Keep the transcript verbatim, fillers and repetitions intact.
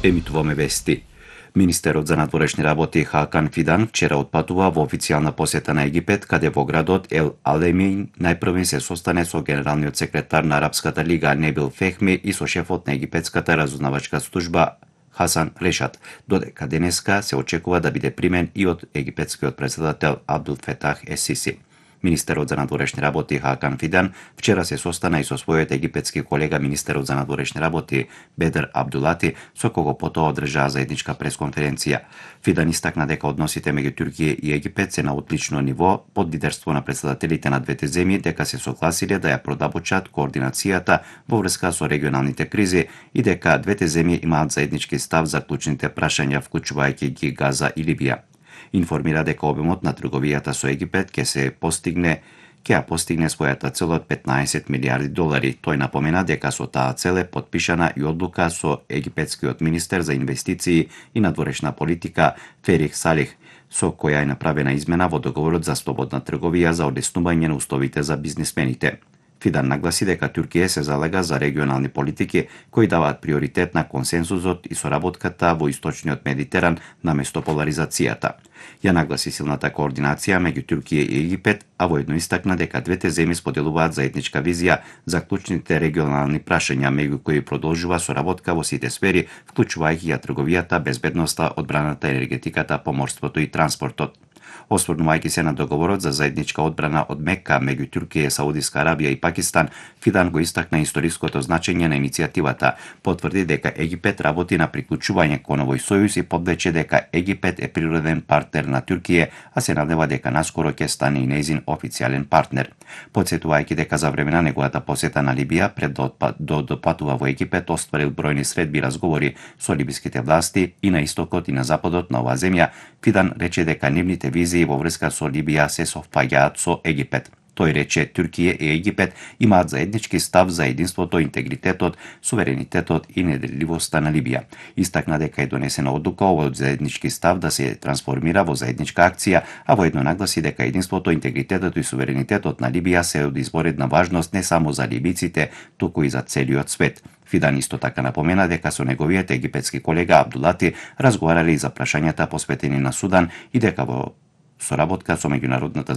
Емитуваме вести. Министерот за надворешни работи Хакан Фидан вчера отпатува во официјална посета на Египет, каде во градот Ел Алемин најпрвен се состане со генералниот секретар на Арапската лига Небил Фехми и со шефот на египетската разузнавачка служба Хасан Решат, додека денеска се очекува да биде примен и од египетскиот председател Абдул Фетах Ес-Сиси. Министерот за надворешни работи Хакан Фидан вчера се состана и со својот египетски колега министерот за надворешни работи Бедр Абдулати, со кого потоа одржаа заедничка пресконференција. Фидан истакна дека односите меѓу Турција и Египет се на одлично ниво под лидерство на председателите на двете земји, дека се согласиле да ја продабочат координацијата во врска со регионалните кризи и дека двете земји имаат заеднички став за клучните прашања, вклучувајќи ги Газа и Либија. Информира дека обемот на трговијата со Египет ќе се постигне ќе ја постигне својата цел од петнаесет милијарди долари. Тој напомена дека со таа цел е подпишана и одлука со египетскиот министер за инвестиции и надворешна политика Ферих Салих, со која е направена измена во договорот за слободна трговија за олеснување на условите за бизнисмените. Фидан нагласи дека Турција се залега за регионални политики кои даваат приоритет на консенсусот и соработката во источниот Медитеран наместо поларизацијата. Ја нагласи силната координација меѓу Турција и Египет, а воедно истакна дека двете земји споделуваат заедничка визија за клучните регионални прашања, меѓу кои продолжува соработка во сите сфери, вклучувајќи ја трговијата, безбедноста, одбраната, енергетиката, поморството и транспортот. Осврнувајќи се на договорот за заедничка одбрана од Мека меѓу Турција, Саудиска Арабија и Пакистан, Фидан го истакна историското значење на иницијативата, потврди дека Египет работи на приклучување кон овој сојуз и подлече дека Египет е природен партнер на Турција, а се надева дека наскоро ќе стане и нејзин официјален партнер. Потсетувајќи дека за време на неговата посета на Либија пред да допатува во Египет, остварил бројни средби и разговори со либиските власти и на истокот и на западот на оваа земја, Фидан рече дека нивните визии во врска со Либија се совпаѓаат со Египет. Тој рече Турција и Египет имаат заеднички став за единството, интегритетот, суверенитетот и неделливоста на Либија. Истакна дека е донесена одлука овој заеднички став да се трансформира во заедничка акција, а воедно нагласи дека единството, интегритетот и суверенитетот на Либија се од изборедна важност не само за либиците, туку и за целиот свет. Фидан исто така напомена дека со неговиот египетски колега Абдулати разговарале и за прашањата посветени на Судан и дека во соработка со меѓународната